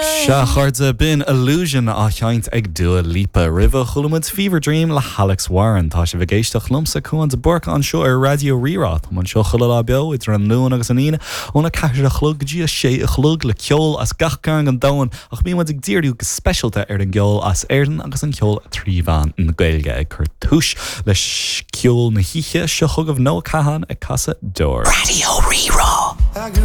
Sea, a chairde, b'in Illusion á sheinnt ag Dua Lipa. Roimhe, chuala muid Fever Dream le hAlex Warren. Tá sibh ag éisteacht liomsa, Cuan de Búrca, anseo ar Raidió Rí-Rá. Táim anseo chuile lá beo idir an Luan agus an Aoine, óna 4 a chlog go dtí a 6 a chlog, le ceol as gach cearn den domhan, ach bíonn muid ag díriú go speisialta ar an gceol as Éirinn agus an ceol trí mheán na Gaeilge. Ag cur túis le ceol na hoíche, seo chugaibh Noah Kahan ag casadh Deoir. Raidió Rí-Rá.